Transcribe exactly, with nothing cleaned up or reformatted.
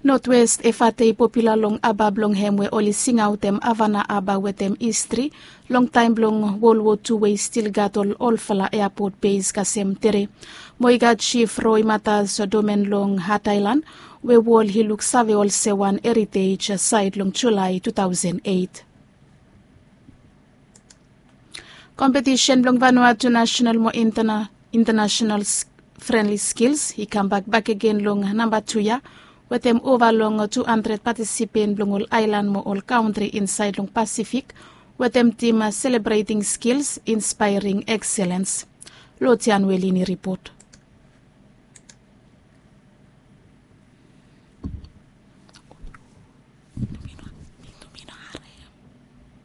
Notwest efate i popula long aba blong hem we oli singaotem avana aba wetem histri long taem blong wol wo tu we i stil gat ol olfala eapot beis kasem tere. Mo i gat jif roi matas domen long hat aelan we wol i luksave olsem wan eritej saed long julae tu taosen eit. Kompetisen blong vanua tu nasenal mo intanasenal frenli skils i kambak bakegen long namba tu ya, wetem ova long tu handred patisipen blong ol aelan mo ol kaontri insaed long pasifik, wetem tim selebreting skils inspaering ekselens. Lotian welin i ripot.